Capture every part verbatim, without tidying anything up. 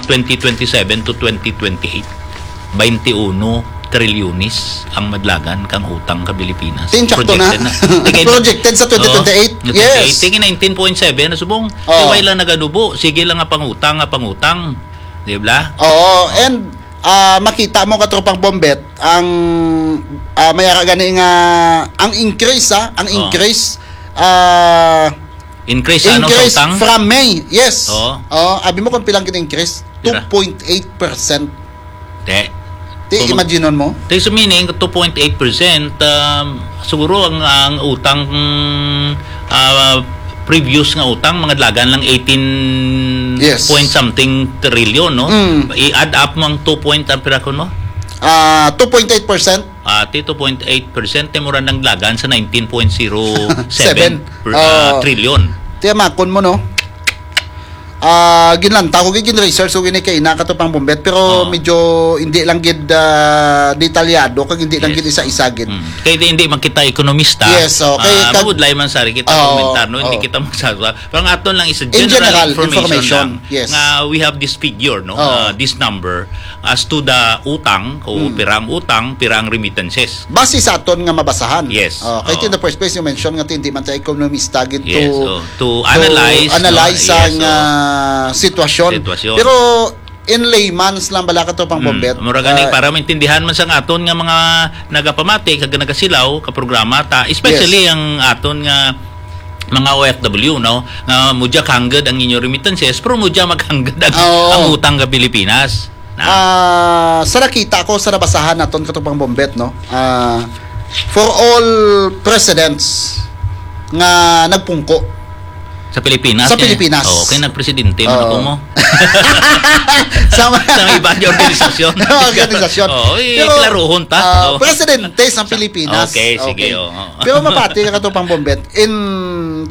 twenty twenty-seven to twenty twenty-eight, twenty-one trilyones ang madlagan kang utang ka Pilipinas. Tin, sakto na. Projected na. Projected sa twenty twenty-eight. Yes. Tingin nineteen point seven na subong. Oh. Way lang nagadubo. Sige lang nga pangutang, nga pangutang. Di ba? Oo. And uh, makita mo, Katropang Bombet, ang uh, may ara gani nga ang increase, ha? Ang oh. increase uh, Increase, increase ano, sa utang? From May, yes. Oo. Oh, abi mo kung pilang gin-increase? Two point eight percent. Te. Te, imagine mo? Te, so meaning, two point eight percent, um, siguro ang, ang utang, mm, ah, previous nga utang, mga dalagan lang eighteen yes. point something trillion, no? Mm. I-add up mo ang two point, ang pirakon mo? Ah, uh, two point eight percent. Ati, two point eight percent, te mura nang lagan sa nineteen point zero seven per, ah, trillion. Tiyamakon mo, no? Ah, ginlanta ko, gin-research ko gini kay ina kato pang bumbet, pero oh. medyo hindi lang gid uh, detalyado kag hindi lang yes. gid isa-isa gid. Mm. Kay hindi man kita ekonomista. Yes, okay. Uh, kag, magudlay man sa kita oh, komentar, no? Oh. Hindi kita magsaswa. Pero ang aton lang is a general, general information, information. Lang, yes. Nga we have this figure, no? Oh. Uh, this number as to the utang o mm. pira ang utang, pira ang remittances. Base sa aton nga mabasahan. Yes. Oh, kay oh. in the first place, you mentioned nga hindi man ta ekonomista gid yes, to, oh. to analyze, to analyze no? ang yes, oh. uh, sitwasyon. sitwasyon. Pero in layman's lang bala kato pang mm. bombet. Mura gani uh, para maintindihan man sa aton nga mga nagapamati kag nagasilaw ka programa ta, especially yes. ang aton nga mga O F W, no? Nga mudya kangged ang inyo remittances, pero mudya magkangged ang, oh. ang utang ka Pilipinas. Na. Uh, sa nakita ko, sa nabasahan naton katong pang bombet, no? Uh, for all presidents nga nagpungko sa Pilipinas. Sa eh. Pilipinas. Oh, kay nagpresidente man oh. ako mo. sa, sa iba nga organisasyon. organisasyon. Oh, eh, Pero, klaruhon ta. Uh, oh. Presidente sa Pilipinas. Okay, sige. Okay. Oh. Pero mapati ka katong pang bombet. In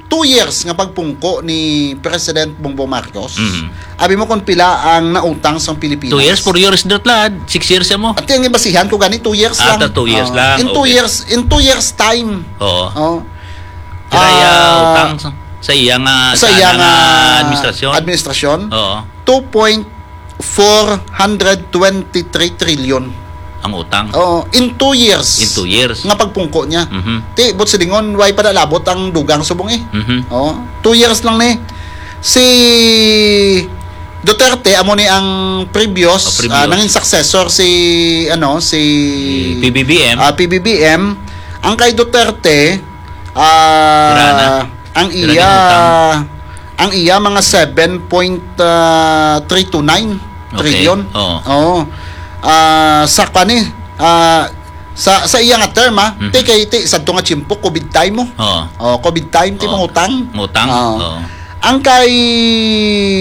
two years nga pagpungko ni President Bongbong Marcos, mm-hmm. abi mo kung pila ang nautang sang Pilipinas? Two years, four years, dot lad. Six years mo. At yung ibasihan ko gani, two years ah, lang. Two years uh, lang. In two okay. years, in two years time. Oo. Oh. Kaya uh, utang sa, sa iya nga, sa iya nga administrasyon. Administrasyon. Oo. two point four hundred twenty-three trillion. Ang utang? Oo, in two years. In two years. Nga pagpungko niya. Mm-hmm. Ti, but silingon, way pa nalabot ang dugang subong eh. Mm-hmm. Oo, two years lang ni. Si Duterte, amo ni ang previous, oh, previous. Uh, nangin successor si, ano, si P B B M. Uh, P B B M. Ang kay Duterte, uh, ang iya ang iya mga seven point three two nine okay. trillion. Oo. Oo. Uh, sa kani, uh, sa sa iya nga term ah, mm-hmm. ti kay ti sadto nga tiyempo covid time mo. Oo. Oh, covid time ti oh. mangutang. Mutang. Oh. Oh. Ang kay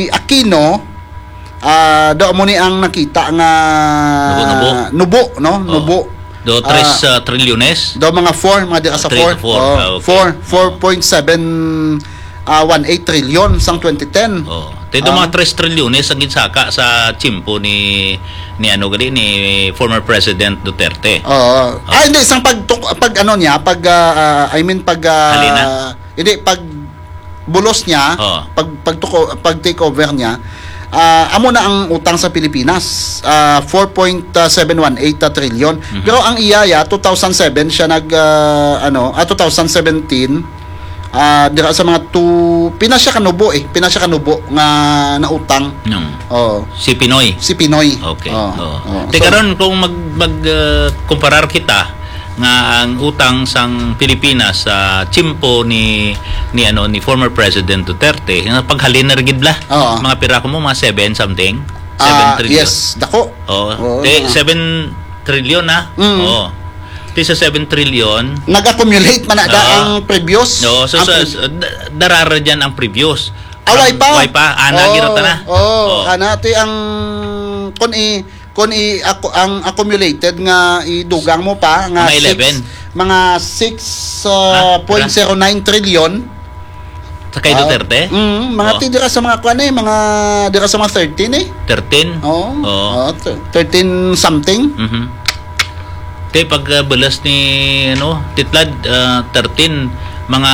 Aquino, uh, do mo ni ang nakita nga nubo, nubo. nubo no? Oh. Nubo. Do tres uh, trilyones? Do mga four, mga dira sa four. Oh, four point seven uh, one eight trillion sang twenty ten. Oh. Te do mga tres trilyones ang ginsaka sa tiyempo ni ni ano gali ni former President Duterte. Oo. Oh. Ah, hindi sang pag pag ano niya, pag uh, uh, I mean pag uh, hindi pag bulos niya, oh. pag pag, pag take over niya, uh, amo na ang utang sa Pilipinas, uh, four point seven one eight trillion. Mm-hmm. Pero ang iya ya two thousand seven siya nag uh, ano, ah, two thousand seventeen uh, dira sa mga two pina siya kanubo eh, pina siya kanubo nga nautang. No. Oh. Si Pinoy. Si Pinoy. Okay. Oh. Oh. oh. Te so, karon kung mag mag uh, kumparar kita nga ang utang sang Pilipinas sa tiyempo ni ni ano ni former President Duterte nga paghalin na gid bla. Oo. Mga pira ko mo mga seven something. seven uh, trillion. Yes, dako. Oh, oh, eh, seven trillion na. Mm. Oh. Ti sa seven trillion. Nag-accumulate man na uh, ang previous. No, so, ang so, pre- so darara diyan ang previous. Away pa. Away pa, ana oh, gira ta na. Oh, oh. Ana ti ang kun i Kon i ako ang accumulated nga idugang mo pa nga mga eleven. Six, mga six point zero nine trillion. Sa kay Duterte? Uh, mm, mga oh. Ti dira sa mga kwan eh, mga dira sa mga thirteen eh. Thirteen? Oo. Oh. Oh, thirteen something. Mm-hmm. Kay pag uh, balas ni ano, Titlad uh, thirteen, mga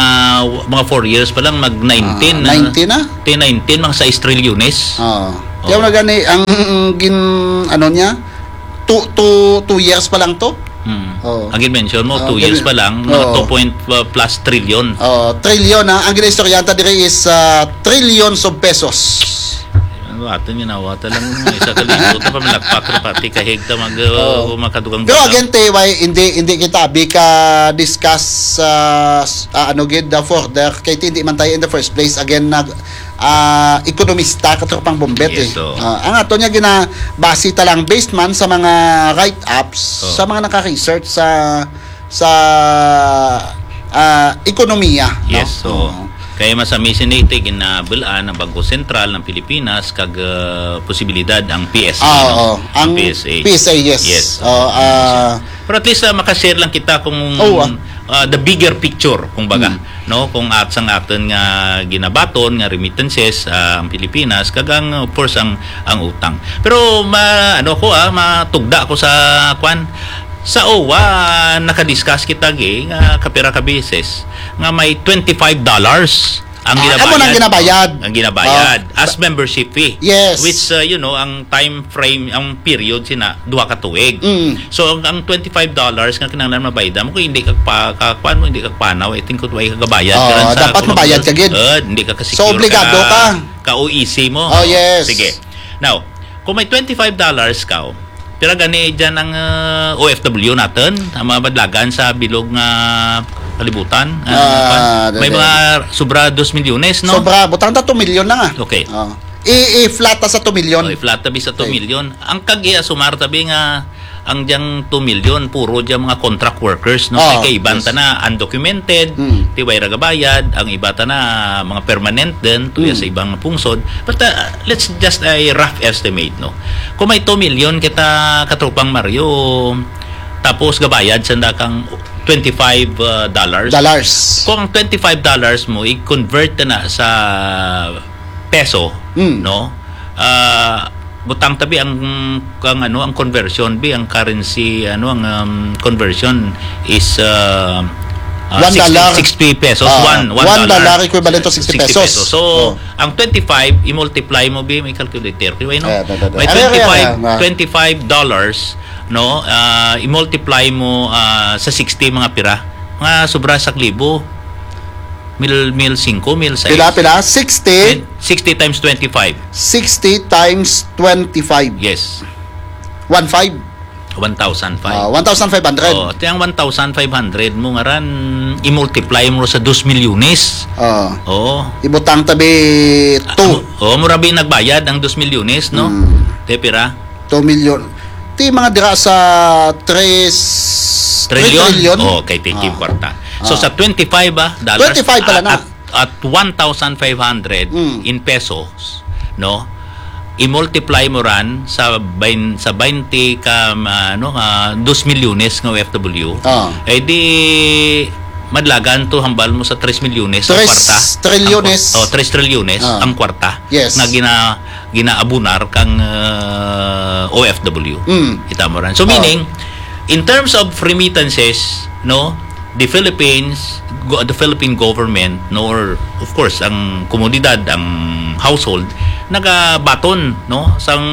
mga four years pa lang mag nineteen. Uh, nineteen na? Ti nineteen, mga sais trilyones. Oo. Oh. Yaw Oo. na gani ang gin-, ano niya, two, two, two years pa lang to. Hmm. Oo. Ang gin-mention mo, Oo, two years gani-, pa lang, mga oo. two point, uh, plus trillion. Oo, trillion, ha? Ang ginaistoryahan ta diri is, ah, trillions of pesos. Ano, aton ginawa ta lang, isa ka libo, ta pamalakpak ra pati kahig ta mag, uh, Oo. makadugang Pero balang. again, T Y, hindi, hindi kita abi ka discuss, ah, s-, ah, ano gid, the further, kay hindi man tayo in the first place, again, nag, ah, ekonomista, katropang Bombet, Yes, eh. oo. Ah, ang ato niya ginabase ta lang based man sa mga write-ups, Oh. sa mga naka-research sa, sa, ah, ekonomiya, no? Yes, oo. Oo. Kaya mas amazing na ito, ginabal-an ang Bangko Sentral ng Pilipinas kag, ah, posibilidad ang P S A, Ah, no? oo. Ang Ang P S A. P S A, yes. Yes, Oo, oo. ah, Pero at least, ah, makashare lang kita kung Oo, ah. ah, the bigger picture, kung baga, Mm. no? Kung at sang aton nga ginabaton nga remittances, ah, ang Pilipinas, kag ang, of course, ang, ang utang. Pero ma-, ano ko, ah, matugda ko sa, kwan, sa O W A, nakadiscuss kita, gi, nga kapira ka beses, nga may twenty-five dollars ang Ah, amo nang ginabayad. ginabayad. Ang ginabayad Ah, as membership fee. Yes. Which, uh, you know, ang time frame, ang period sina, duha ka tuig. Mm. So, ang, ang twenty-five dollars nga kinahanglan mabayad mo, kung hindi ka pa, ka, kuwan mo, hindi ka panaw, I think, kung way ka gabayad, Oo, karan sa dapat mabayad ka gid. Uh, hindi ka ka-secure So, obligado ka, ka. ka O E C mo. Oh, yes. Sige. Now, kung may twenty-five dollars ka, oh, pira gani dyan ang, uh, O F W natin, ang mga badlagan sa bilog nga kalibutan? Ah, Ah, may dali. mga sobra dos milyones, no? Sobra, butang ta two million na nga. Okay. Oh. I, i-flat ta sa two million. Oh, i-flat tabi sa two Okay. million. Ang kag i-asumar tabi nga ang diyang two million, puro diyang mga contract workers, no? Oh, Kay iban yes. ta na undocumented, Hmm. ti way ra gabayad, ang iba ta na mga permanent din, tuya Hmm. sa ibang pungsod. But, uh, let's just a rough estimate, no? Kung may two million kita, katropang Mario, tapos gabayad sa kang twenty-five, uh, dollars. Dollars. Kung ang twenty-five dollars mo, i-convert na sa peso, Mm. no? Ah, butang tabi ang, ang ano, ang conversion bi, ang currency, ano, ang, um, conversion is, uh, uh, One dollar. sixty, sixty pesos, Ah, one, one one dollar. dollar equivalent to sixty Sixty pesos. pesos. So, Oh. ang twenty-five, i-multiply mo bi, may calculator, kay, no? Ah, da, da, da. May Ah, twenty-five, ah, ah. twenty-five dollars, no? Ah, i-multiply mo, ah, sa sixty, mga pira? Mga sobra sa libo. Mil, mil singko, mil sais. Pila, pila? Sixty? Sixty times twenty-five. Sixty times twenty-five. Yes. One five? One thousand five. Ah, one thousand five hundred. Oh, ti ang one thousand five hundred mo nga ran, i-multiply mo sa dos milyones. Ah. Oo. Ibutang tabi two. Ah, oh, mura bi nagbayad ang dos milyones, no? Hmm. Te pira? Two million. Ti mga dira sa tres, Trillion? three trillion. Oh, kay tiki Ah. kwarta. So, Ah. sa twenty-five, ah, dollars, Twenty-five pala ah, na. at, at one thousand five hundred Mm. in pesos, no? I-multiply mo ran sa bain-, sa twenty ka, ah, ano, ah, dos milyones nga O F W. Ah. Eh, di, madlagan to, hambal mo sa tres milyones ang Tres kwarta. trilyones. Ang kwa-, oh, tres trilyones Ah. ang kwarta Yes. nga gina-, ginaabunar kang, ah, O F W. Mm. Kita mo ran. So, Oh. meaning, in terms of remittances, no, the Philippines, go-, the Philippine government, no, or, of course, ang komunidad, ang household, nagabaton, no, sang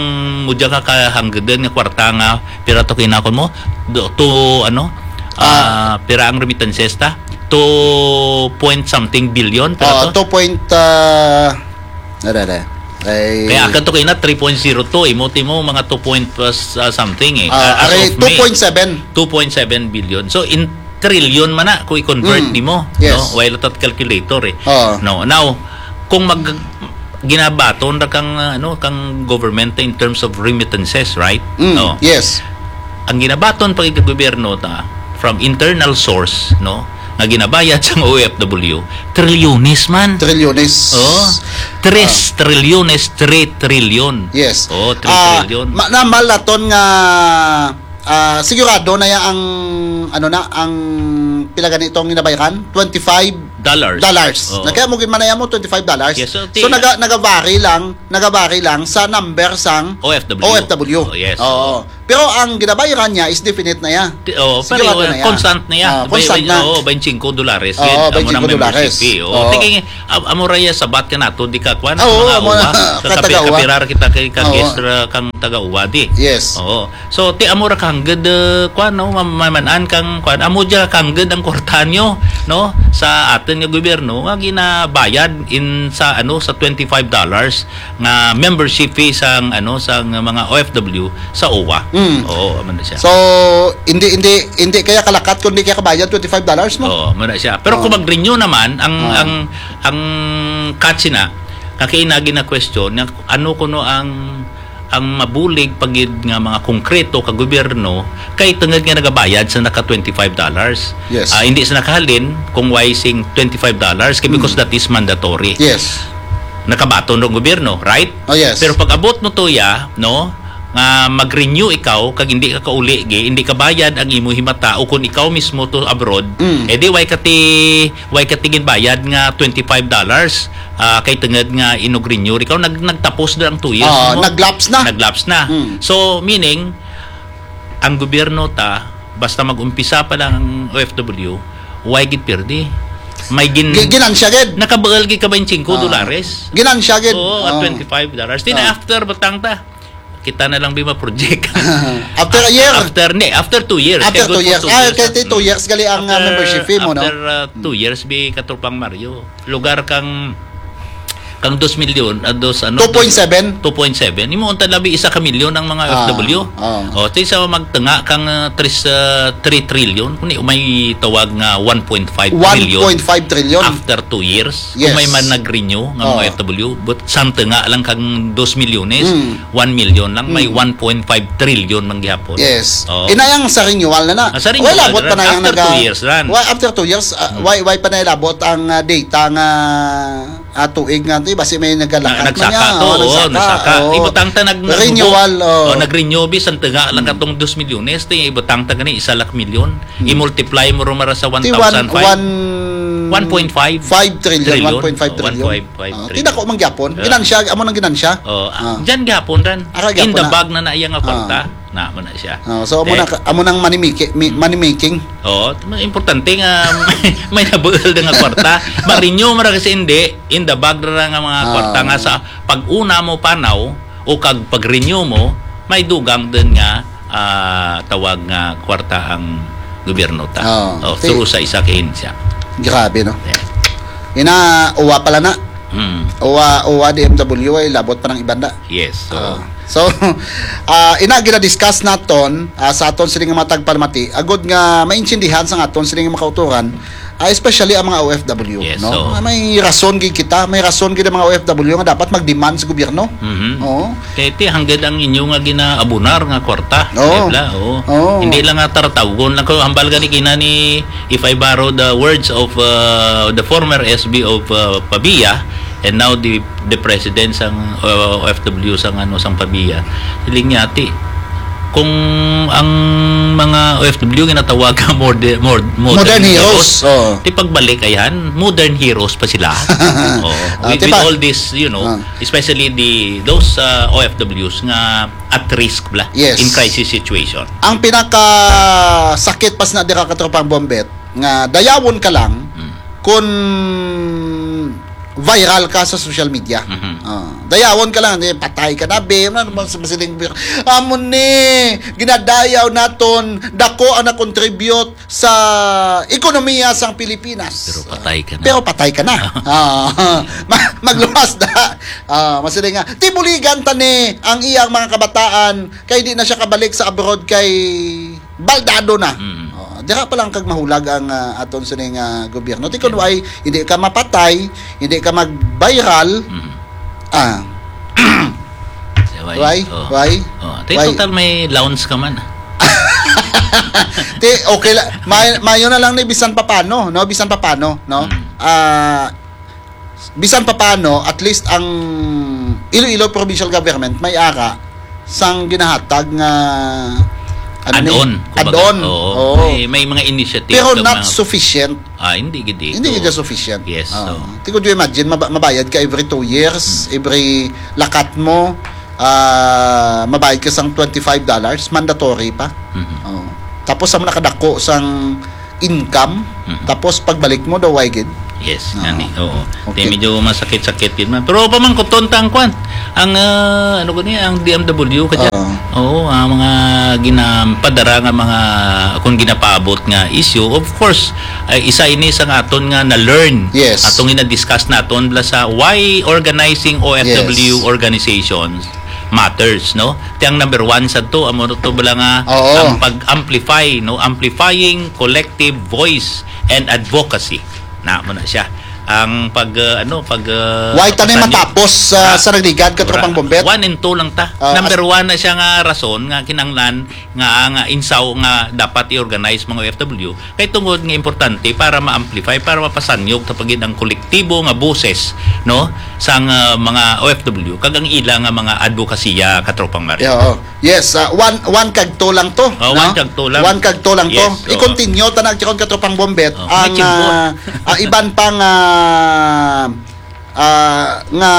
mudya ka kahanggadan nga kwarta nga pira to kinakon mo, do, to, ano, Ah. ah, pira ang remittances ta? Two point something billion, pira Oo, to? two point, ah, Ara, ara. Ay. Kaya akan to kaina, three point zero two, imo, timo, mga two point, uh, s-, uh, something, eh. Ah, Uh, as are, of May, two point seven. Two point seven billion. So, in trillion man na, kung i-convert Mm. nimo, Yes. no? While at calculator, eh. Oo. No. Now, kung mag-, ginabaton ra kang, uh, ano, kang government in terms of remittances, right? Mm, No. yes. Ang ginabaton pag gobyerno ta, from internal source, no, nga ginabayad sang O F W, trilyones man. Trilyones. Oh, tres Ah. trilyones, three trilyon. Yes. Oh, three Ah, trilyon. ma-, na malaton nga, ah, sigurado na ya ang, ano na, ang pila gani itong ginabayaran? Twenty-five Dollars. dollars. Oo. Na kaya mo gid manaya mo, twenty-five dollars. Yes, so, So, ti- naga-, nagabari lang, nagabari lang sa number sang O F W. O F W. Oh, yes. Oo. Oo. Pero ang ginabayaran niya is definite na iya. Ti-, oh, Sige, pero, wala uh, na iya. Constant na iya. Ah, Bay-, constant bay-, na. Oo, twenty-five dolares. Oo, Gid, amo nang twenty-five dolares. Membership fee. Oo. Oo. Tingin, am-, amo ra iya sabat ka nato, di ka, kwan, Oo, mga amo na, uwa. Sa kapi-, katagawa. Kapira kita kay ka Oo. guest ra kang taga-uwa, di. Yes. Oo. So, ti amo ra ka hangad, uh, kwan, no, ma-, maman-an kang, kwan, amo dya ka hangad ang kwarta nyo, no, sa aton nga gobyerno, nga ginabayad in sa, ano, sa twenty-five dollars nga membership fee sang, ano, sang mga O F W sa uwa. Mm. Oo, amo na siya. So, hindi, hindi, hindi kaya kalakat kung di kaya kabayad twenty-five dollars mo? Oo, amo na siya. Pero kung Oo. mag-renew naman, ang, Oo. ang, ang catch na, nga kay nagi na question, nga ano kuno ang, ang mabulig pa gid nga mga konkreto ka gobyerno kay tungod nga nagabayad sa naka twenty-five dollars. Yes. Ah, hindi sa nakahalin kung why sing twenty-five dollars, kay because Mm. that is mandatory. Yes. Nakabaton ang gobyerno, right? Oh, yes. Pero pag abot mo to ya, no, nga mag-renew ikaw kag hindi ka kauli gi, hindi ka bayad ang imo himata o kung ikaw mismo to abroad, Mm. eh di why ka ti, why ka ti ginbayad nga twenty-five dollars, ah, kay tungod nga inug-renew ikaw, nag-, nagtapos na ang two years Ah, mo. nag-lapse na. Nag-lapse na. Mm. So, meaning, ang gobyerno ta, basta mag-umpisa pa lang ang O F W, why gid pirdi? May gin-, Gi-, ginansya gid. Nakabaal gid ka twenty-five Ah. dolares. Ginansya gid. Oo, at Oo. twenty-five dollars. Di na Ah. after, butang ta. Kita na lang bi ma-project. After a year. After, ni, after two years. After Kay good two for years. two Ah, years, kay ah. ti two Mm. years gali ang, ah, After, membership fee mo, no? after, ah, two Mm. years, bi Katropang Mario. Lugar kang, kang dos milyon, ah, dos, ano, Two point seven? two point seven. Imo unta labi isa ka milyon ang mga Ah, O F W. ah. O, ti sa magtunga kang, ah, tris, ah, three trillion, kung di, may tawag nga one point five trillion One point five trillion. after two years. Yes. Kung may man nag-renew nga mga Oh. O F W, but sang tunga lang kang dos milyones, Mm. one million lang, may Mm. one point five trillion man gihapon. Yes. Oh. Inayang sa renewal na na. Ah, sa renewal Wala, labot na pa na yung after naga-, two years ran. Wa-, after two years, ah, Mm. why, why pa na labot ang, ah, data nga, ah, tuig nga, di ba, si may nagalakat Na, nagsaka man niya, to, oh, oo, nagsaka. nagsaka. Oo. Ibutang ta nag-, Renewal, nagbubo-, oh. oh, nag-renew, bi, sang tunga lang Mm. katong dos milyones, ti ibutang ta gani, isa lak milyon. Mm. I-multiply mo ro mara sa Ti one, one thousand five. one, One point five. Five trillion, Trillion. one point five Oh, trillion. one point five Ah, trillion. Ti dako man gyapon. Ah. Ginansya, amo nang ginansya. Oh, ah, Ah. dyan gyapon ran. Ara In the gyapon na. bag na na iya nga Ah. kwarta. Na, mo na siya. Ah, so, amo Eh. na ka-, amo nang money maki-, mi-, money making. Oo, importante nga may nabuol na nga kwarta. Ma-renew mo ra kasi hindi, in the bag ra nga mga Ah. kwarta nga sa pag-una mo panaw o kag pag-renew mo, may dugang din nga, ah, tawag nga kwarta ang gobyerno ta. Ah, Oh, ti- through sa isa ka ahensya. Grabe, no? Yeah. Ina, uwa pala na. Mm. Uwa, uwa D M W ay labot pa ng ibanda. Yes, so Ah. So, ah, ina gina-discuss naton, ah, sa aton sini nga mga tagpalamati, agod nga maintindihan sa aton sini nga mga kauturan, ah, especially ang mga O F W, Yes, no? so Ah, may rason gid kita, may rason gid ang mga O F W nga dapat mag-demand sa gobyerno. Mhm. Oo. Kay ti, hanggang ang inyo nga ginaabunar nga kwarta, Oo. di ba? Oo. Oo. Hindi lang nga taratawgon lang ko, hambal gani kina ni, if I borrow the words of, uh, the former S B of, uh, Pavia, and now the, the president sang, uh, O F W sang, ano, sang Pavia. Siling niya, ti, kung ang mga O F W ginatawag ka mode-, mod-, modern Modern heroes. heroes. Oo. Ti pagbalik, ayan, modern heroes pa sila. Oo. Ah, With, ti with pa- all this, you know, Ah. especially the, those, uh, O F Ws nga at risk bla Yes. in crisis situation. Ang pinakasakit pas na dira, Katropang Bombet, nga dayawon ka lang Mm. kung viral ka sa social media. Mhm. Ah, dayawon ka lang, eh, patay ka na, be. Ano naman sa masiling, amo ni, ginadayaw naton, dako ang na-contribute sa ekonomiya sang Pilipinas. Pero patay ka na. Pero patay ka na. Ah, ma-, magluwas na. Ah, masiling nga, tibuligan ta ni ang iyang mga kabataan kay di na siya kabalik sa abroad kay baldado na. Mm. Oh, dira pa lang kag mahulag ang, ah, aton sining, ah, gobyerno. Ti kun Yeah. why, hindi ka mapatay, hindi ka mag-viral. Mm. Ah. Why? Why? Oh. Why? Oh, ti Why? total may lounge ka man. Ti, okay la-, may-, mayo na lang ni bisan papano, no? Bisan papano, no? Mm. Ah, bisan papano, at least ang Iloilo Provincial Government may ara sang ginahatag nga, ano ni? Add-on, kumbaga. Add-on. Oo. Oo. May, may mga initiative Pero ka not mga sufficient. Ah, hindi gid ito. Hindi gid sufficient. Yes, Oo. so. Ti, could you imagine, maba-, mabayad ka every two years, Hmm. every lakat mo, ah, mabayad ka sang twenty-five dollars, mandatory pa. Mhm. Oh. Tapos sa nakadako sang income, Mhm. tapos pagbalik mo daw, why gid? Yes, Ah, gani. Oo. okay. Di medyo masakit-sakit gid man. Pero pamangkuton ta ang kwan. Ang, ah, ano gani, ang D M W ka dyan. Oo. Oo, ang mga ginapadara nga mga, kung ginapaabot nga issue, of course, ay isa ini sa nga aton nga na-learn. Yes. Atong gina-discuss naton bala sa why organizing O F W Yes. organizations matters, no? Ti ang number one sa to, amo to bala nga Oo. ang pag-amplify, no? Amplifying collective voice and advocacy. Na mo na siya. Ang pag, uh, ano, pag, uh, Why ta na pasanyo. matapos, uh, Ra-, sa nagligad, ka tropang ra-, Bombet? One and two lang ta. Uh, Number as- one na siya nga rason nga kinanglan nga, nga insaw nga dapat i-organize mga O F W kay tungod nga importante para ma-amplify, para mapasanyog ta pagid ang kolektibo nga boses, no, sang, uh, mga O F W kag ang ila nga mga advokasya, ka tropang Mario. Yeah, oo. Yes, ah, one, one kag two lang to, Oh, no? one kag two lang. One kag two lang to. Yes, oo. I-continue ta na, Chikon, ka tropang Bombet. Oh, Ang, may chimbo. ah, ah, iban pang, ah, ah, nga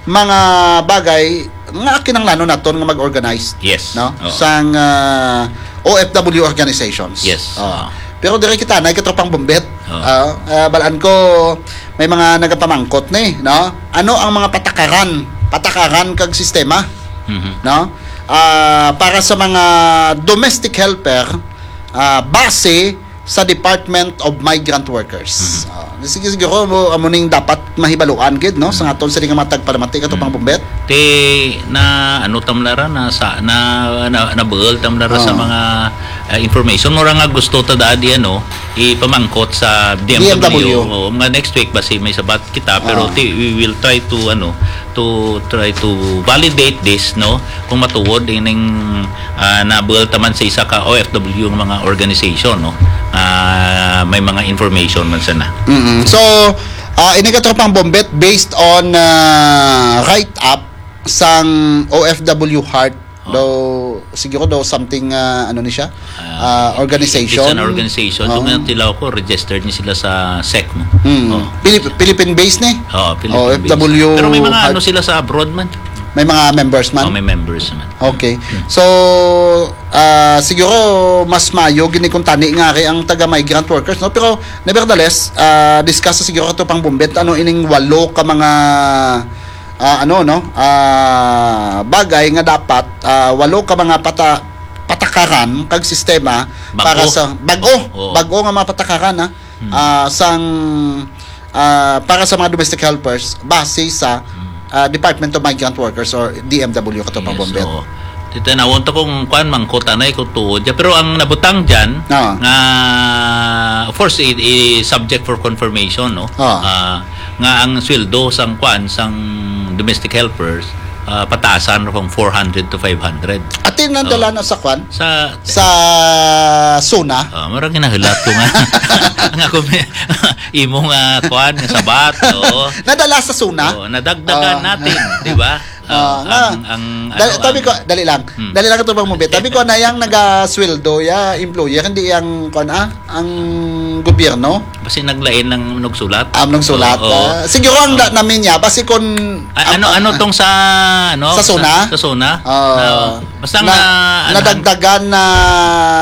mga bagay nga kinahanglanon naton nga mag-organize, Yes. no? Oo. Sang, ah, O F W organizations. Yes. Oh. Oo. Pero diri kita na, ka tropang Bombet. Oo. Ah, ah, balaan ko may mga nagapamangkot ni, no? Ano ang mga patakaran, patakaran kag sistema, Mhm. no? Ah, para sa mga domestic helper, ah, base sa Department of Migrant Workers. Mhm. Ah, sige, siguro mo, amo ning dapat mahibaluan gid, no? Sa aton sila nga mga tagpalamati, ka tropang Mhm. Bombet. Ti na ano tam na ra, na sa, na, na, nabuhol tam na ra sa Oo. mga, ah, information. Mura nga gusto ta daan di, ano, ipamangkot sa D M W. D M W. Oo, mga next week basi may sabat kita, pero Oo. ti, we will try to, ano, to try to validate this, no? Kung matuod ining, ah, nabuhol ta man sa isa ka O F W nga mga organization, no? Ah, may mga information man sana. Mm-mm. So, ah, ini, ka tropang Bombet, based on, ah, write-up sang O F W Heart, Oh. daw, siguro daw something, ah, ano ni siya? Ah, Ah, organization. It's an organization. Oo. Doon nga tilaw ko, registered ni sila sa sec, no? Mm. Oh. Pilip-, Philippine based ni? Oh, Philippine based. O F W Pero may mga Heart. ano sila sa abroad man. May mga members man? Oh, may members man. Okay. Hmm. So, ah, siguro mas maayo gini kung tani nga ari ang taga migrant workers, no? Pero nevertheless, ah, discuss sa siguro, ka tropang Bombet, ano ining walo ka mga, ah, ano, no? Ah, bagay nga dapat, ah, walo ka mga pata-, patakaran kag sistema Bag-o. para sa bag-o, Oo. bag-o nga mga patakaran, ha? Hmm. Ah, sang, ah, para sa mga domestic helpers base sa, Hmm. ah, Department of Migrant Workers or D M W, ka tropang Yes, Bombet. oo. Titanawon to kung kuan, mangkot anay kung tuod ya. Pero ang nabutang dyan, Ah. nga, of course, i, i subject for confirmation, no? Ah. Ah, nga ang sweldo sang kuan, sang domestic helpers, ah, pataasan from four hundred to five hundred. Ati nadala Oh. na sa kuan? Sa Sa SONA? Ah, marang ginahulat ko nga. Nga kung may, imo nga kuan, nga sabat, oo. Nadala sa SONA? Oo, nadagdagan Oh. natin, di ba? Ah, Ah, nga. ang, ang, Dali, ano, tabi ang ko, dali lang. Hmm. Dali lang, ka tropang Bombet. Tabi ko na yang nagasweldo ya, employer, hindi yang, kuan, ah, ang gobyerno. Basi naglain ng nagsulat. Ah, nagsulat. Oo. Ah, siguro ang Oh. da-, namin niya, basi kung A-, ano, ang, ano tong sa, ano, Sa SONA? sa, sa SONA? Ah. Na, basta Na, nga, ano, nadagdagan na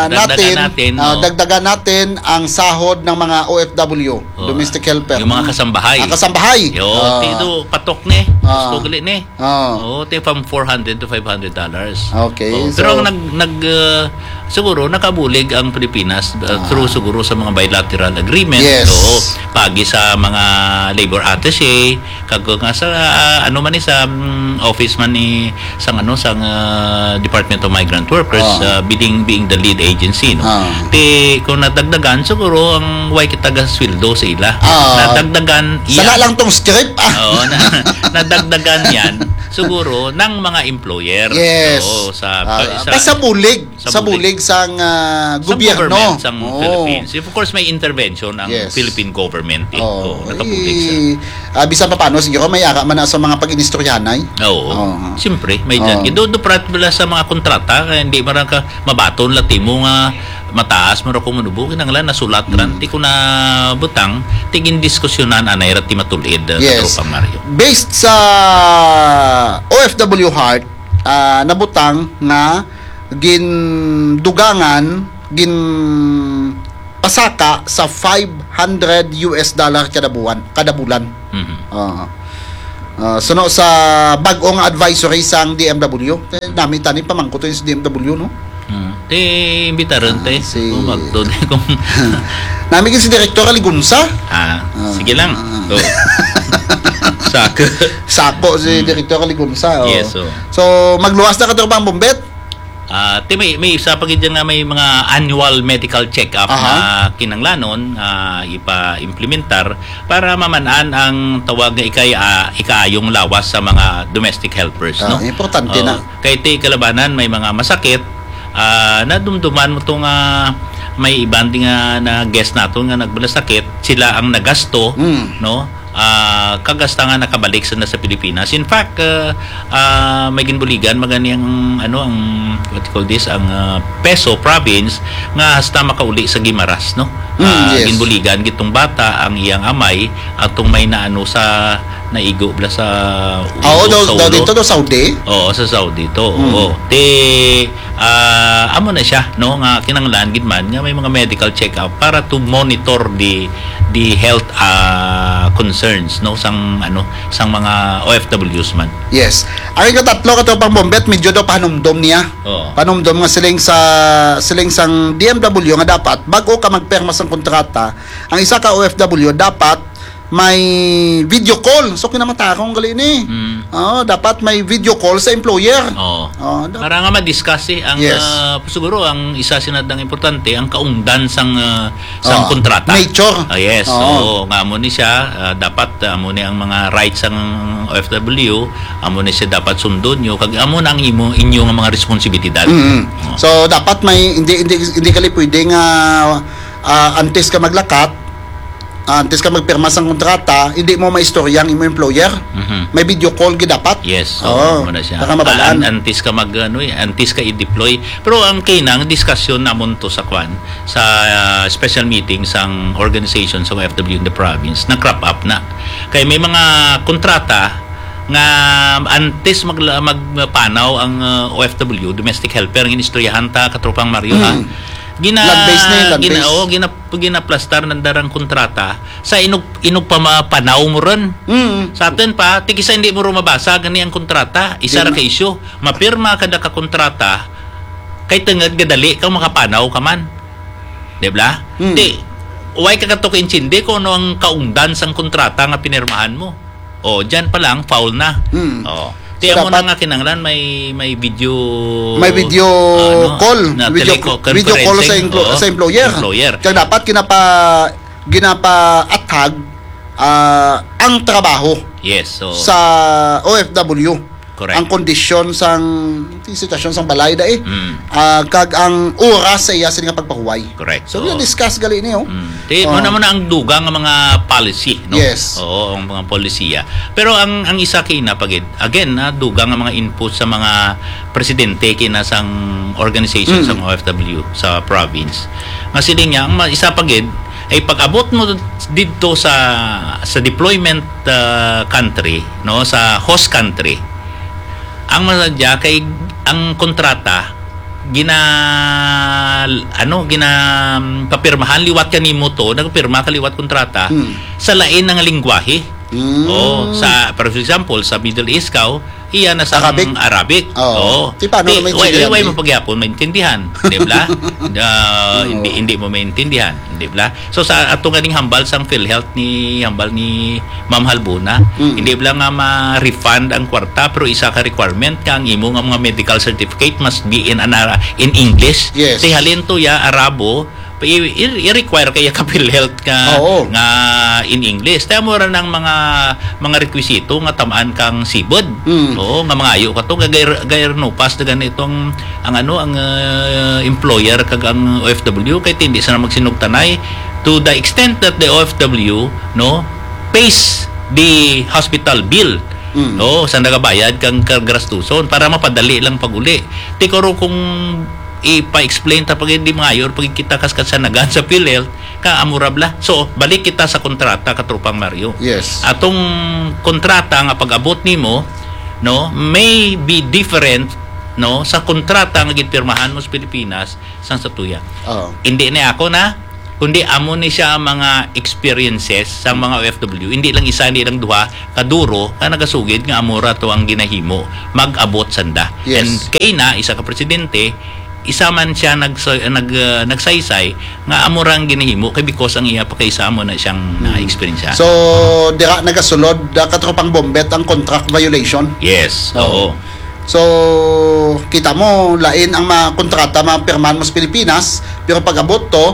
nadagdagan natin, natin, ah, oo. dagdagan natin ang sahod ng mga O F W, Oo. domestic helper. Yung mga kasambahay. Ang kasambahay. Yo, Ah. tido, patok ni. Ah. Gusto gali ni. Ah. Oo, ti from four hundred to five hundred dollars. Okay, Oo, so pero ang nag, nag, uh, siguro nakabulig ang Pilipinas, uh, Ah. through siguro sa mga bilateral agreement. Yes. Oo, pagi sa mga labor attaché, kag nga sa, ah, ano man ni, sa, mm, office man ni, sang ano, sang, ah, Department of Migrant Workers, Ah. ah, being, being the lead agency, no? Ah. Ti, kung nadagdagan, siguro ang way kita gasweldo sa ila. Ah. Nadagdagan Sala yan. lang tong script, ah. Oo, na, nadagdagan yan. Siguro, ng mga employer. Yes. Oo, sa, Ah, sa, pa-, sa bulig. Sa Sa bulig. bulig sang, ah, Sa gobyerno. government, sang Oo. Philippines. Of course, may intervention ang Yes. Philippine government, eh. Oo. Oo, nakabulig sa Eh, ah, bisan pa paano, siguro, may ara man na sa mga pag-inistoryahanay. Oo. Oo. Siyempre, may Oo. dyan. Do, do, prat, wala sa mga kontrata, kaya hindi man ka mabaton la timo nga, mataas man ra kung manubo, kinahanglan nasulat ran, Mm. ti ko na butang, ti gindiskusyonan, anay ra ti matulid, uh, Yes. Katropang Mario. Based sa O F W Heart, ah, nabutang nga gindugangan, gin pasaka sa five hundred U S dollar kada buwan, kada bulan. Mhm. Ah. Ah, suno sa bag-o nga advisory sang D M W. Eh, nami tani pamangkot sa D M W, no? Hmm. Ti imbitaran, Ah, te. si Kung magto-, kung Nami gid si Direktor Aligunsa. Ah, Ah. sige lang. Ah. Oh. Sako. Sako si Hmm. Direktor Aligunsa. Oh. Yes, oh. So, magluwas na ka, Tropang Bombet. Ah, ti may, may isa pa gid nga may mga annual medical check-up Aha. na kinanglanon nga ipa-implementar para maman-an ang tawag nga ikay, ah, ikaayong lawas sa mga domestic helpers, Ah, no? importante Oo. na. Kay ti kalabanan may mga masakit, ah, nadumduman mo to nga may iban din nga na guest nato nga nagbalasakit, sila ang nagasto, Mm. no? Ah, kag hasta nga nakabalik sila sa Pilipinas. In fact, ah, ah, may ginbuligan magani ang, ano, ang, what you call this, ang, ah, Peso province nga hasta makauli sa Guimaras, no? Mm, Ah, yes. Ginbuligan gitong bata, ang iyang amay, atong may naano sa naigo bla sa ulo, Ah, oo, daw, sa daw ulo. Dito, daw Saudi. Oo, sa Saudi to. Mm. Oo. Ti, ah, amo na siya, no, nga kinahanglan gid man nga may mga medical check-up para to monitor the the health, ah, concerns, no, sang, ano, sang mga O F Ws man. Yes. Ang ikatatlo, Katropang Bombet, medyo daw panumdom niya. Oo. Panumdom nga siling sa, siling sang D M W nga dapat, bago ka magpirma sang kontrata, ang isa ka O F W dapat may video call. So, kinamatarong gali ni. Mm. Oo, dapat may video call sa employer. Oo. Oo, da- Para nga ma-discuss, eh, ang, Yes. ah, siguro ang isa sinadang importante, ang kaungdan sang, ah, sang Oo. Kontrata. Nature. Ah, yes. Oo. Oo, nga amo ni siya, ah, dapat, ah, amo ni ang mga rights sang O F W, amo ni siya dapat sundon nyo, kag amo na ang imo, inyo nga mga responsibilidad. Mm. Oo. So, dapat may, hindi, hindi, hindi kali pwede nga, ah, antes ka maglakat, ah, antes ka magpirma sang kontrata, hindi mo maistorya ang imo employer. Mhm. May video call gid dapat. Yes, Oo, so, muna siya. para mabalaan. An- antes ka mag, ano, eh, antes ka i-deploy. Pero ang kinang diskusyon namon to sa kwan, sa, ah, special meeting sang organization sa O F W in the province, na-crop up na. Kay may mga kontrata nga antes mag, magpanaw ang, ah, O F W, domestic helper, ang inistoryahan ta, Katropang Mario, ha? Mm. Gina, Land-based na yun, land-based. gina, oh, gina, ginaplastar ng darang kontrata sa inug, inug pa ma-, panaw mo ron. Mm. Sa atin pa, ti kisa hindi mo ro mabasa gani ang kontrata, isa Di ra ma- ka isyu. Mapirma ka da ka kontrata, kay tungod nga dali kang makapanaw ka man. Di ba? Hmm. Ti, why ka kato kaintindi kung ano ang kaungdan sang kontrata nga pinirmahan mo? O, dyan pa lang, foul na. Hmm. O. Ti, So, amo na dapat nga kinahanglan may, may video, May video ano, call. na Video, teleco-, video call sa, conferencing. emplo- Oo, sa employer. employer. Kaya dapat ginapa, ginapaathag ah, ang trabaho Yes, so, sa O F W. Correct. Ang kondisyon sang, ang sitwasyon sang balay dai. Mm. Ah, kag ang oras sa iya sini nga pagpahuway. Correct. So, Oo. na-discuss gali niyo. Mm. Ti, Oh. mo naman ang dugang nga mga policy, no? Yes. Oo, ang mga polisiya. Pero ang, ang isa kina pagid, again, na dugang nga mga input sa mga presidente kina sang organization Mm. sang O F W sa province. Nga sila niya, ang ma- isa pagid, ay pag-abot mo dito sa sa deployment, ah, country, no, sa host country, ang masadya kay ang kontrata gina ano gina papirmahan liwat kanimo to, nagpirma ka liwat kontrata Hmm. sa lain nga lingwahe. Hmm. Oh, sa, for example, sa Middle East ka, oh, iya na sa Arabic? Arabic. Oo. Oo. Di paano Di, na maintindihan, why, why di? mo pagyapon maintindihan, di ba? Ah, Oo. hindi, hindi mo maintindihan, di ba? So sa ato ganing hambal sang PhilHealth ni hambal ni Ma'am Halbuna, Mm. hindi lang nga ma-refund ang kwarta, pero isa ka requirement ka ang imo nga mga medical certificate must be in an Ara- in English. Yes. Ti halin to ya Arabo, i- i- i-require kaya ka PhilHealth nga Oo. nga in English. Kaya mo ra ng mga mga requisito nga tamaan kang sibod. Mm. Oo, nga mangayo ka to, gay gay no pass na ganitong ang ano ang ah, employer kag ang O F W kay hindi sana magsinugtanay to the extent that the O F W, no, pays the hospital bill. Mm. No, sa nagabayad kang kagastuson para mapadali lang pag-uli. Tikoro kung ipa-explain ta pag di mangayo, pag kita kas kasanagan sa PhilHealth, ka amo ra bala. So, balik kita sa kontrata, Katropang Mario. Yes. Atong kontrata nga pag-abot nimo, no, may be different, no, sa kontrata nga ginpirmahan mo sa Pilipinas sang sa tuya. Oo. Hindi ni ako na, kundi amo ni siya ang mga experiences sa mga O F W. Hindi lang isa, hindi lang duha, kaduro, nga nagasugid nga amo ra to ang ginahimo, mag-abot sanda. Yes. And kay na, isa ka presidente, isa man siya nag-, nag-, uh, nagsaysay nga amo ra ang ginahimo kay because ang iya pa kay isa amo na siyang na-experience. So, dira nagasulod, uh, Katropang Bombet, ang contract violation? Yes, oo. Oo. So, kita mo, lain ang mga kontrata mapirmahan mo sa Pilipinas, pero pag-abot to,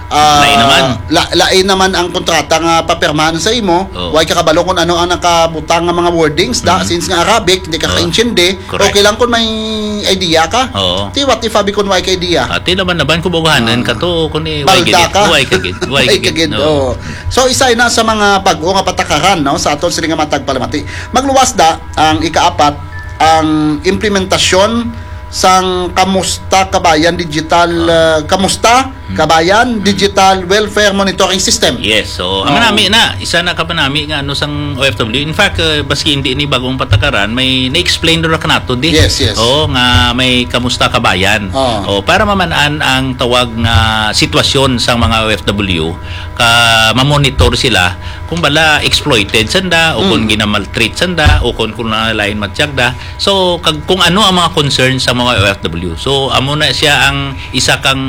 ah, Lain naman. la-, lain naman ang kontrata nga papirmahan sa imo. Oo. Way ka kabalo kung ano ang nakabutang nga mga wordings, da, Mm. since nga Arabic, hindi ka Oo. kaintindi. Correct. Okay lang kung may idea ka. Oo. Ti, what if abi kung way ka idea? Ati naman naman kung bugahanan Ah. ka to, kung i-, way Balda gid, ka. way ka gid, way Way ka ka gid, gid, oo. oo. So, isa na sa mga bag-o nga patakaran, no, sa aton sini nga matag palamati. Magluwas da ang ikaapat, ang implementasyon sang Kamusta Kabayan Digital, Ah. uh, Kamusta Hmm. Kabayan Hmm. Digital Welfare Monitoring System. Yes, so, ang Oo. manami na, isa na ka manami nga ano sang O F W. In fact, uh, baski hindi ni bagong patakaran, may na-explain ra kanato di. Yes, yes. Oo, nga may Kamusta Kabayan. Oo. O, para maman-an ang tawag nga sitwasyon sang mga O F W, ka mamonitor sila kung bala exploited sanda o kung Mm. ginamaltreat sanda o kung, kung na lain matyagda. So, kag, kung ano ang mga concerns sa mga O F W. So, amo na siya ang isa kang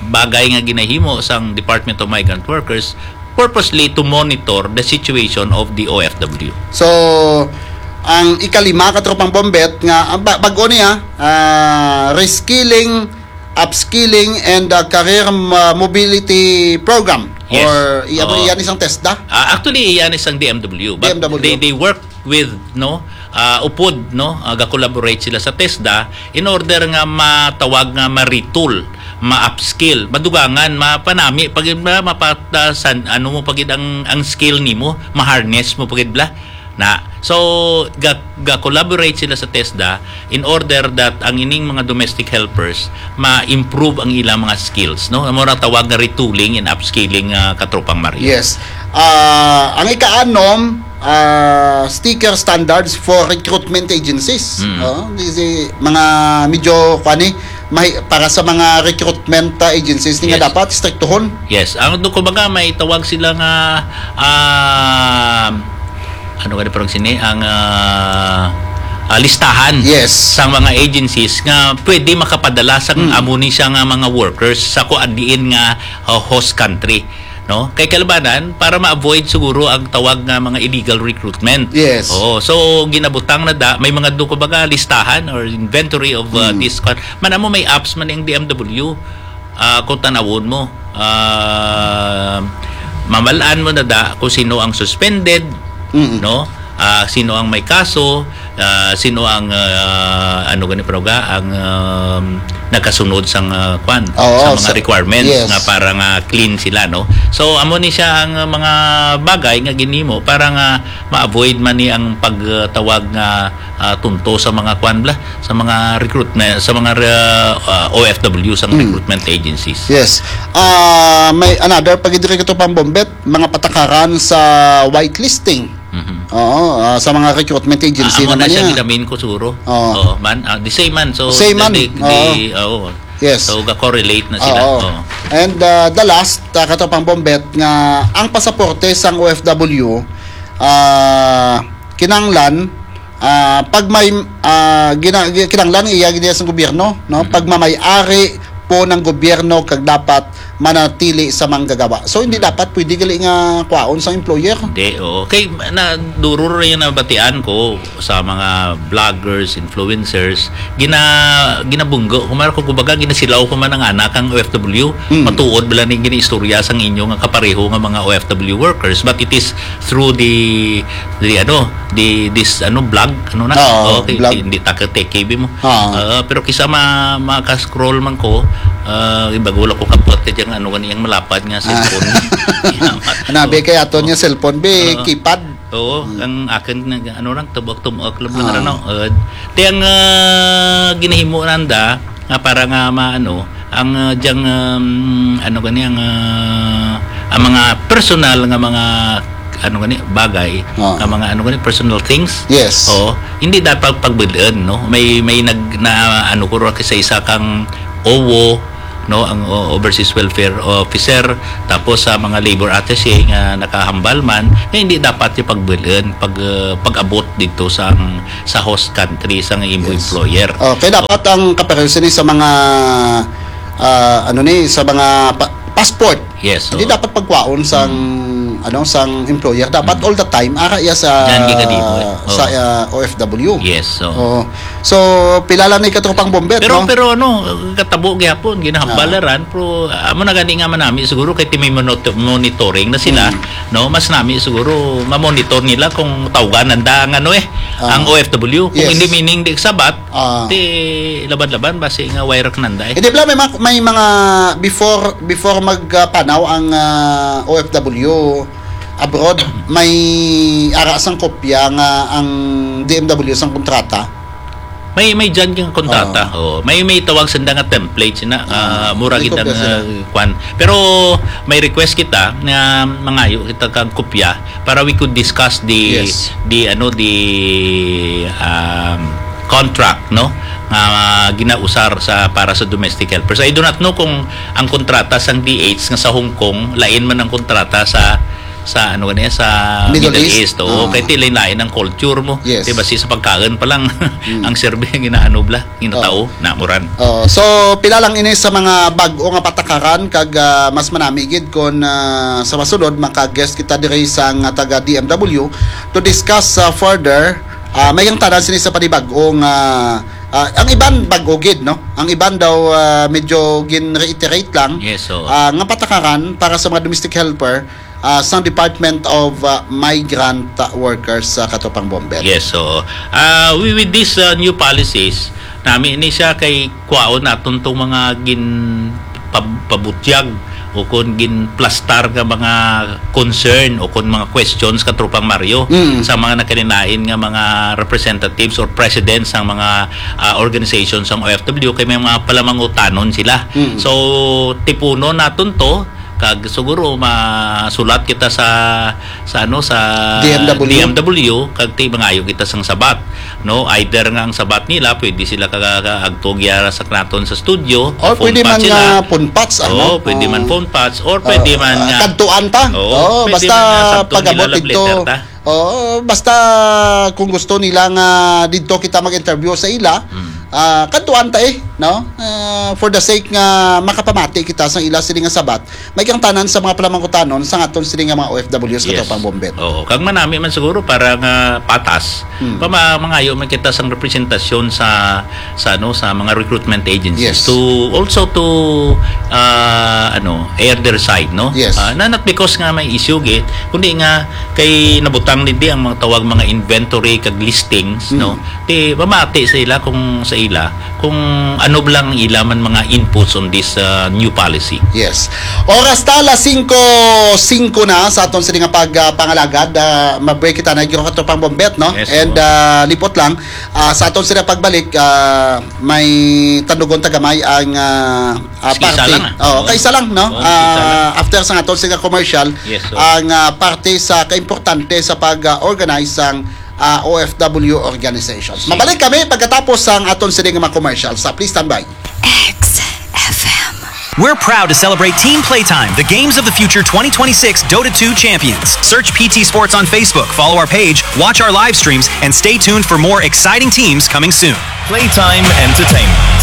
bagay nga ginahimo sang Department of Migrant Workers purposely to monitor the situation of the O F W. So, ang ikalima, Katropang Bombet, nga, ah, ba-, bag-o niya, ah, reskilling, upskilling, and, ah, career, ah, mobility program. Yes. Or, iya, Oo. iya ni sang TESDA? Ah, actually, iya ni sang D M W. But D M W. they, they work with, no, ah, upod, no, ah, ga-collaborate sila sa TESDA in order nga matawag nga ma-retool, ma-upskill, madugangan, mapanami, pag, ma-, mapatasan, ano mo pagid ang, ang skill nimo, ma-harness mo pagid bala. Na, so, ga-, ga-collaborate sila sa TESDA in order that ang ining mga domestic helpers ma-improve ang ilang mga skills, no? Amo ra tawag nga retooling and upskilling, ah, Katropang Mario. Yes. Ah, ang ikaanom, ah, sticker standards for recruitment agencies. Mm. Oh, di, di, mga medyo, kuwan ni, mahi-, para sa mga recruitment, ah, agencies, ni nga Yes. dapat striktuhon. Yes. Ang do, kumbaga, may tawag sila nga, ah, ano gani parang sini, ang, ah, ah, listahan Yes. sang mga agencies nga pwede makapadala sa Mm. amo ni siya nga mga workers sa kuan diin nga, ah, host country, no? Kay kalabanan, para ma-avoid siguro ang tawag nga mga illegal recruitment. Yes. Oo. So, ginabutang na da, may mga do, kumbaga, listahan or inventory of, ah, Mm. this con-, man amo may apps man ang D M W, ah, kung tanawon mo, ah, mamalaan mo na da kung sino ang suspended, Mm. no? Ah, sino ang may kaso, ah, sino ang, ah, ano gani, pero ga, ang, um, nagkasunod sang, ah, kwan, Oo, sa mga sa, requirements yes. nga para nga clean sila, no? So, amo ni siya ang, ah, mga bagay nga ginimo para nga ma-avoid man ni ang pagtawag nga, ah, tunto sa mga kwan bala, sa mga recruitment, sa mga, ah, ah, O F W, sa Mm. recruitment agencies. Yes. Ah, may another pa gid diri, Katropang Bombet, mga patakaran sa whitelisting. Mhm. Oo, ah, sa mga recruitment agency Ah, amo naman na siya yan. Gilamin ko siguro. Oo. Oo, man, ah, the same man. So, Same the, man. the, the, Oo. oo. Yes. So, ga-correlate na sila. Oo. Oo. And, ah, the last, ah, Katropang Bombet, nga ang pasaporte sang O F W, ah, kinahanglan, ah, pag may, ah, gina-, gi-, kinahanglan iya gid sa gobyerno, no? Mhm. Pagmamay-ari po ng gobyerno kag dapat manatili sa manggagawa. So, hindi Mm. dapat pwede gali nga kwaon sa employer. Hindi, oo. Kay, na, duro ra yung nabatian ko sa mga vloggers, influencers, gina-, ginabunggo. Kumara ko, kumbaga, ginasilaw ko man ang anak ang O F W. Mm. Matuod bala ni ginaistorya sang inyo nga kapareho nga mga O F W workers, but it is through the, the, ano, the, this, ano, vlog, ano na? Oo, Okay, vlog. Hindi ta ka tech, K B mo. Oo. Ah, pero kisa ma-, maka-scroll man ko, ah, ibago lang ko kapot ka dyan, ano, ganyan malapad nga Ah. cellphone. Anabi Oo. kay aton nga Oo. cellphone, be, Oo. keypad. Oo, Hmm. ang akin, nag-, ano lang, tumuak-tumuak lang, lang, Ah. ano, uh, ti ang, ah, ginahimo nanda, nga para nga maano ang, ah, diyang, um, ano gani ang, ah, ang mga personal nga mga ano gani bagay, Ah. nga mga ano gani personal things. Yes. Oo, hindi dapat pagbulon, no? May, may nag-, na ano ko ra sa isa kang owo, no, ang o-, Overseas Welfare Officer, tapos sa mga labor attaché nga nakahambal man, nga hindi dapat yung pagbulon, pag, ah, pag-abot dito sa, sa host country, sa imo Yes. employer. Okay, dapat ang kapareho sini sa mga, ah, ano ni, sa mga pa-, passport. Yes, Hindi oo. dapat pagkwaon sang, Mm. ano, sang employer. Dapat Mm. all the time, ara iya sa, Yan, gigadibo, eh. sa, Oo. ah, O F W. Yes, oo. Oo. So, pila lang ni katropang Bombet, Pero, no? pero ano, katabo gihapon, ginahambalaran, Ah. pero, ah, amo na gani nga manami, siguro kay ti may monito-, monitoring na sila, Mm. no? Mas nami siguro ma-monitor nila kung tawgan nanda ang ano eh, Ah. ang O F W. Kung Yes. hindi meaning di sabat, Ah. ti laban-laban, basi nga wire nanda eh. Eh, di ba may mga, may mga before, before mag, ah, panaw ang, ah, O F W abroad, may ara sang kopya nga ang D M W sang kontrata? May, may dyan yung kontrata. Ah. Oh, may, may tawag sanda nga template sina, ah, Ah, mura may kita kopya na sila. kwan. Pero may request kita nga mangayo kita kang kopya para we could discuss the, Yes. the, ano, the, um, contract, no? Nga ginausar sa, para sa domestic helpers. I do not know kung ang kontrata sang D H nga sa Hong Kong, lain man ang kontrata sa, sa, ano gani, sa Middle Middle East. East. Oo, Ah. kay ti lain-lain ang culture mo. Yes. Di ba, si sa pagkaon pa lang, Mm. ang serbi ang ginaano bla, ginatao, Oo. namuran. Oo. So, pila lang ini sa mga bag-o nga patakaran kag, ah, mas manami gid kon, ah, sa masunod maka-guest kita diri sang taga D M W to discuss, ah, further. Ah, may ang tanan sini sa panibag-o nga, ah, ang iban bag-o gid, no? Ang iban daw, ah, medyo gin-reiterate lang, Yes, oo. ah, nga patakaran para sa mga domestic helper, ah, sang Department of, ah, Migrant Workers sa Katropang Bombet. Yes, oo. Ah, we, with these, ah, new policies, nami ni siya kay kwaon naton tong mga gin pab-, pabutyag o kon ginplastar nga mga concern o kon mga questions, Katropang Mario, Mm. sa mga nakalinain nga mga representatives or presidents sang mga, ah, organizations sang O F W, kay may mga palamangutanon sila. Mm. So, tipunon naton to, kag siguro masulat kita sa, sa ano, sa D M W? D M W, kag ti mangayo kita sang sabat, no? Either nga ang sabat nila, pwede sila ka, ka, agto gyara sa naton sa studio, Or phone pwede patch man sila. nga phone patch, ano? Oo, pwede man Oo. phone patch, or pwede Oo, man ah, nga kadtuan ta. Oo, Oo, pwede basta man nga sabton pag-abot nila, love dito. letter ta. Oo, basta kung gusto nila nga dito kita mag-interview sa ila, Mm. ah, kadtuan ta eh, no? Ah, for the sake nga makapamati kita sa ila sini nga sabat, may kang tanan sa mga palamangkutanon sa aton sini nga mga O F Ws, Yes. Katropang Bombet. Oo, kag manami man siguro para nga patas, Hmm. pa ma-, mangayo man kita sang representasyon sa, sa, ano, sa mga recruitment agencies Yes. to also to, ah, ano, air their side, no? Yes. Ah, na, not because nga may issue gid, kundi nga kay nabutang din di ang mga tawag mga inventory kag listings, Hmm. no? Ti mamati sa ila kung sa ila kung ano lang ila man mga inputs on this, uh, new policy. Yes. Oras ta, alas singko singko na sa aton sini nga pag, ah, pangalagad. Ah, ma-break kita na gyud, Katropang Bombet, no? Yes, And, oo. ah, lipot lang, ah, sa aton sini pagbalik, ah, may tandugon ta gamay ang, ah, ah, Sige, isa party. lang, ah. Oo, Oo. kaisa lang, no? Oo, Ah, isa lang. after sa aton sini nga commercial, Yes, oo. ang, ah, parte sa kaimportante sa pag, ah, organize sang ah, O F W organizations. Sige. Mabalik kami pagkatapos sang aton sini nga mga commercial. Sa, please stand by. X F M. We're proud to celebrate Team Playtime, the Games of the Future twenty twenty-six Dota two champions. Search P T Sports on Facebook, follow our page, watch our live streams, and stay tuned for more exciting teams coming soon. Playtime Entertainment.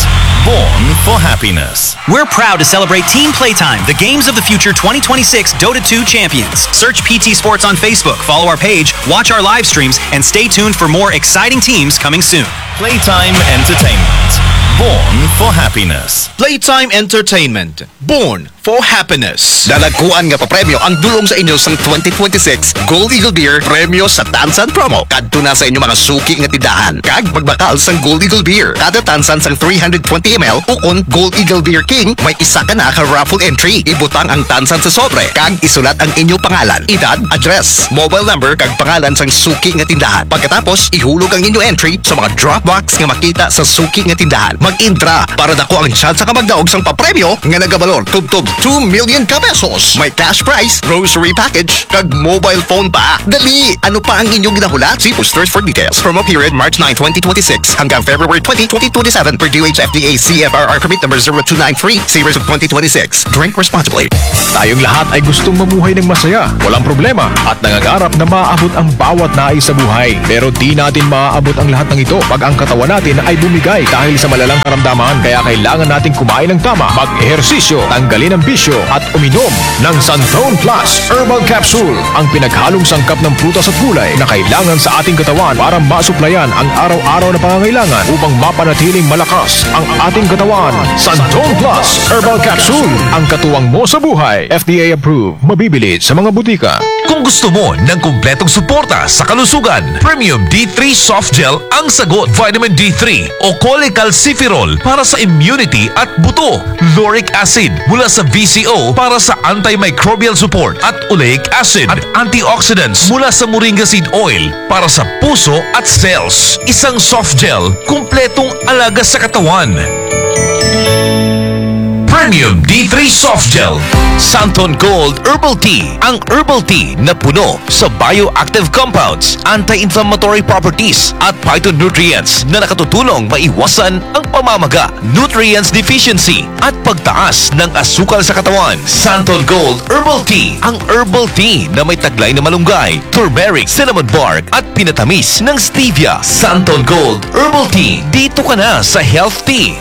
Born for happiness. We're proud to celebrate Team Playtime, the Games of the Future twenty twenty-six Dota two champions. Search P T Sports on Facebook, follow our page, watch our live streams, and stay tuned for more exciting teams coming soon. Playtime Entertainment. Born for happiness. Playtime Entertainment. Born for happiness. Dalagkuan nga papremyo ang dulong sa inyo sang twenty twenty-six Gold Eagle Beer Premyo sa Tansan Promo. Kadto na sa inyo mga suki nga tindahan kag magbakal sang Gold Eagle Beer. Kada tansan sang three hundred twenty M L ukon Gold Eagle Beer King, may isa ka na ka raffle entry. Ibutang ang tansan sa sobre kag isulat ang inyo pangalan, edad, address, mobile number kag pangalan sang suki nga tindahan. Pagkatapos, ihulog ang inyo entry sa mga drop box nga makita sa suki nga tindahan. Mag-intra ta, para dako ang tsansa ka magdaog sang papremyo nga nagabalor tubtob two million ka pesos. May cash prize, grocery package, kag mobile phone pa. Dali, ano pa ang inyong ginahulat? See posters for details. Promo period March nine, twenty twenty-six hanggang February twenty, twenty twenty-seven per D O H F D A C F R R permit number zero two nine three series of twenty twenty-six. Drink responsibly. Tayong lahat ay gustong mamuhay ng masaya, walang problema, at nangangarap na maabot ang bawat nais sa buhay. Pero di natin maaabot ang lahat ng ito pag ang katawan natin ay bumigay dahil sa malalang karamdaman. Kaya kailangan nating kumain ng tama, mag-ehersisyo, tanggalin ang bisyo, at uminom ng Santon Plus Herbal Capsule, ang pinaghalong sangkap ng prutas at gulay na kailangan sa ating katawan para masuplayan ang araw-araw na pangangailangan upang mapanatiling malakas ang ating katawan. Santon Plus Herbal Capsule, ang katuwang mo sa buhay. F D A approved. Mabibili sa mga butika. Kung gusto mo ng kumpletong suporta sa kalusugan, Premium D three Soft Gel ang sagot. Vitamin D three o cholecalciferol para sa immunity at buto, lauric acid mula sa V C O para sa antimicrobial support at oleic acid at antioxidants mula sa moringa seed oil para sa puso at cells. Isang soft gel, kumpletong alaga sa katawan. Premium D three Soft Gel. Santon Gold Herbal Tea. Ang herbal tea na puno sa bioactive compounds, anti-inflammatory properties, at phytonutrients na nakatutulong maiwasan ang pamamaga, nutrients deficiency, at pagtaas ng asukal sa katawan. Santon Gold Herbal Tea. Ang herbal tea na may taglay na malunggay, turmeric, cinnamon bark, at pinatamis ng stevia. Santon Gold Herbal Tea. Dito ka na sa health tea.